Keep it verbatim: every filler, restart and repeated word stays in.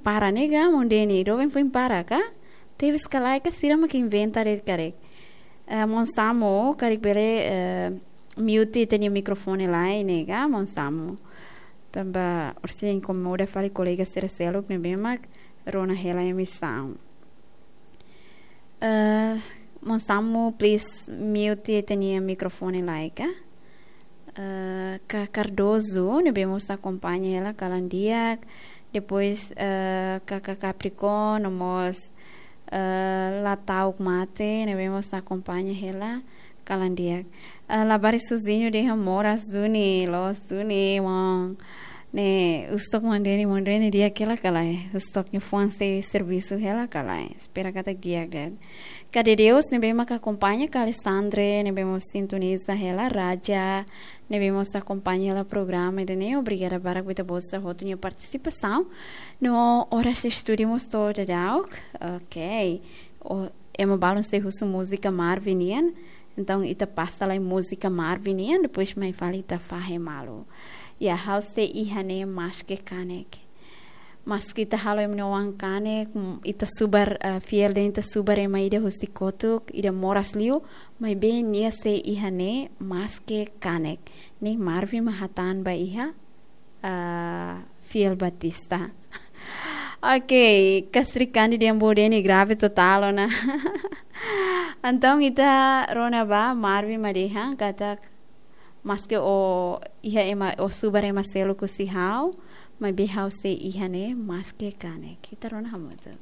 Para ne'e ka, maun Deni, doben foin para ka? Tebes ka lae ka sira mak inventa de'it karik. Eh, maun Samu, karik bele, eh, mute ita-nia mikrofone lai ne'e ka, maun Samu. Tanba orsida inkomoda fali kolega sira seluk ne'ebé mak rona hela emisaun. Eh, maun Samu, please mute ita-nia mikrofone lai ka. Eh, Kak Cardoso, ne'ebé mós akompaña hela kalan di'ak. Depois, eh, Kak Capricorn, no mós, eh, la ta'uk mate, ne'ebé mós akompaña hela kalan di'ak. Eh, labarik sozinho dehan moras duni, loos duni, maun. Ne'e, husu tok maun Deni, maun Deni di'ak hela ka lae. Husu tok nia fuan sei servisu hela ka lae. Espera katak di'ak de'it. Kade Deus, ne'ebé mak akompaña, Kak Alessandre, ne'ebé mós sintoniza hela, Raja, ne'ebé mós akompaña hela programa ida-ne'e, obrigada barak ba ita-boot sira hotu nia partisipasaun. No oras estúdiu mós to'o daudauk. Ok. O, ema balun sei husu múzika Marvin nian. Entaun, ita pasa lai múzika Marvin nian, depois mai fali ita fahe malu. Ya, ha'u sei iha ne'e maske kanek. Maske ita halo ema nia oan kanek, mm, ita subar, eh, fiel de'it ita subar ema ida husi kotuk, ida moras liu, maibé nia sei iha ne'e maske kanek. Ne'e Marvin mak hatán ba iha, ah, Fiel Batista. Ok, Kak Srikandi dehan maun Deni grave total ona. Entaun ita rona ba, Marvin mak dehan katak maske o iha ema, o subar ema seluk husi ha'u, maibé ha'u sei iha ne'e maske kanek. Ita rona hamutuk.